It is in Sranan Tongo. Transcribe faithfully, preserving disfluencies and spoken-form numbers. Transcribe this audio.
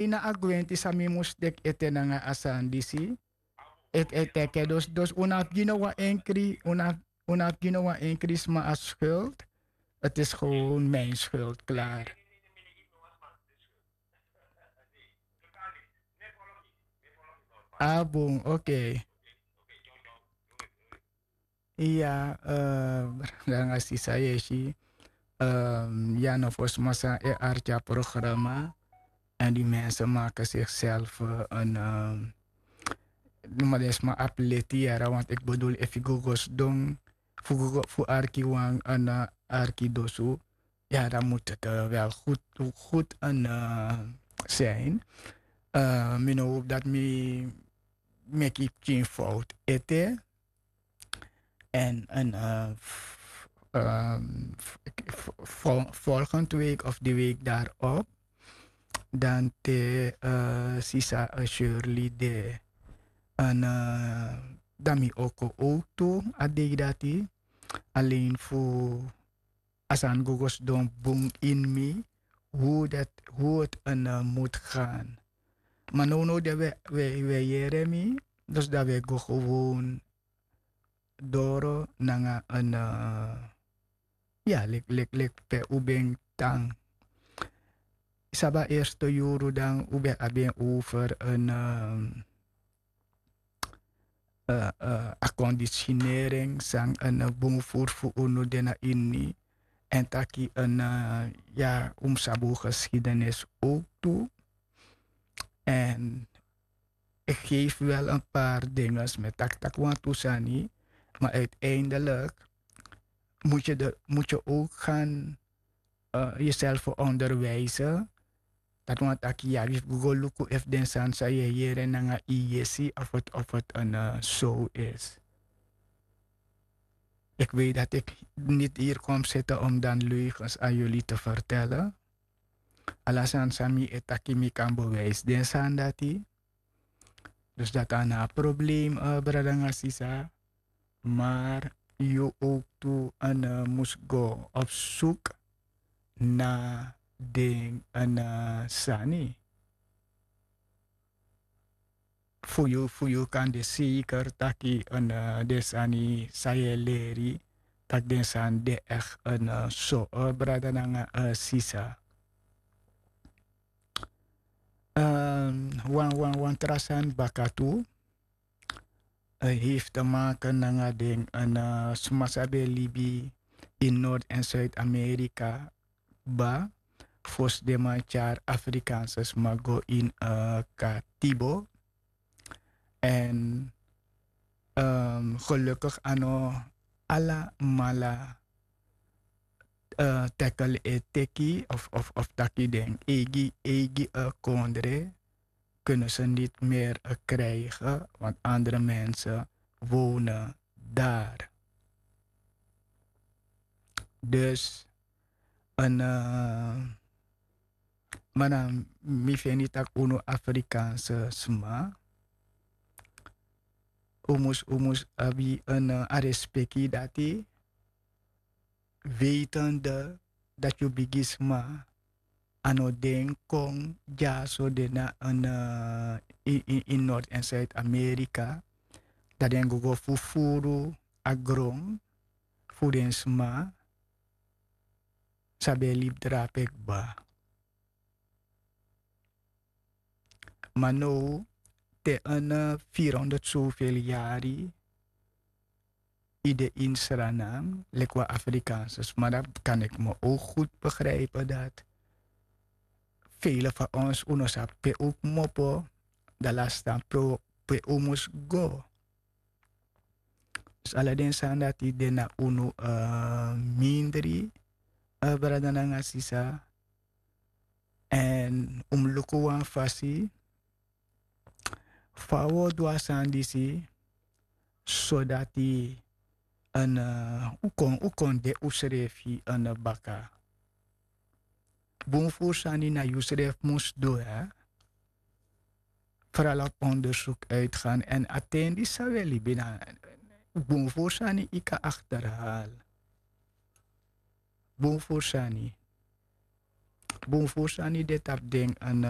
ini a gwenti san mi mus teki ete nanga a sani disi. Ete ete eke dus dus un no abi gi no wan enkri un no abi gi no wan enkri sma a skuld. Ti is gewoon mijn skuld klaar. A bun oke. Iya, nanga sisa yesi. Ya no fosi masa e arti a programa. En di mense make sikself en numa den sma abi leti yara want iki bedul efu yu go go sidon fu go go fu arki wan en arki dosu. Ya dan mut het wel goed goed en zijn. Mi no hoop dat mi meki pikin fout ete. En en volgende week of de week daarop dan te sisa shirley de en dan mi oko ook tu a dei dati. Alleen fu a sani go go sidon bun ini mi hoe dat hoe het en moet gaan. Maar no no de we we we yere mi dus dat we go gewoon doro nanga en ya lik lik lik pe un ben tan. Saba eerste yuru dan un ben abi en over en a kondisinering san en bun voer fu unu de na ini. En taki en ya un mus abi un geschiedenis ook tu. En ik geef wel een paar dingen met tak tak want tu sani. Maar uiteindelijk moet je de moet je ook gaan jezelf onderwijzen. Dat want aki ya wi fu go luku efu den sani san yu e yere nanga yu yesi of het of het en so is. Ik weet dat ik niet hier kom zitten om dan leugens aan jullie te vertellen. Ala sani san mi e taki mi kan bewijs den sani dati. Dus dati a na a probleem brada nanga sisa. Maar yu ook tu en mus go op zoek na den en sani fu yu fu yu kan de zeker taki en den sani san yu e leri. Taki den sani de echt en so brada nanga sisa. Wan wan wan tra sani baka tu heeft te maken nanga den en sma san ben libi in noord en zuid-amerika. Ba fosi den man tyari afrikaanse sma go in katibo. En gelukkig a no alamala tackle e teki of taki den eigi eigi kondre kunnen ze niet meer krijgen want andere mensen wonen daar. Dus en mana mi feni tak' unu afrikaanse sma un mus un mus abi en a respeki dati wetende dat' yu bigisma a no den kon dyaso de na en in noord en zuid-amerika. Dat' den go go fu furu a gron fu den sma san ben e libi drape kba. Ma now te en firi honderd soveli yari yu de ini sranan leki wan afrikaanse sma dati kan iki mi ok gud begripe dati. Vele fa ons un no sabi pe un kmopo dan lastan pe un mus go. Dus ala den sani dati de na unu mindri brada nanga sisa. Èn un mus luku wan fasi fa un o du a sani disi sodati un kon un kon de unsrefi baka. Bun furu sani na yusrefi mus du. Frala fu ondersuk uitgan èn a ten di san wi e libi na bun furu sani yu kan akterhal. Bun furu sani bun furu sani de tapu den an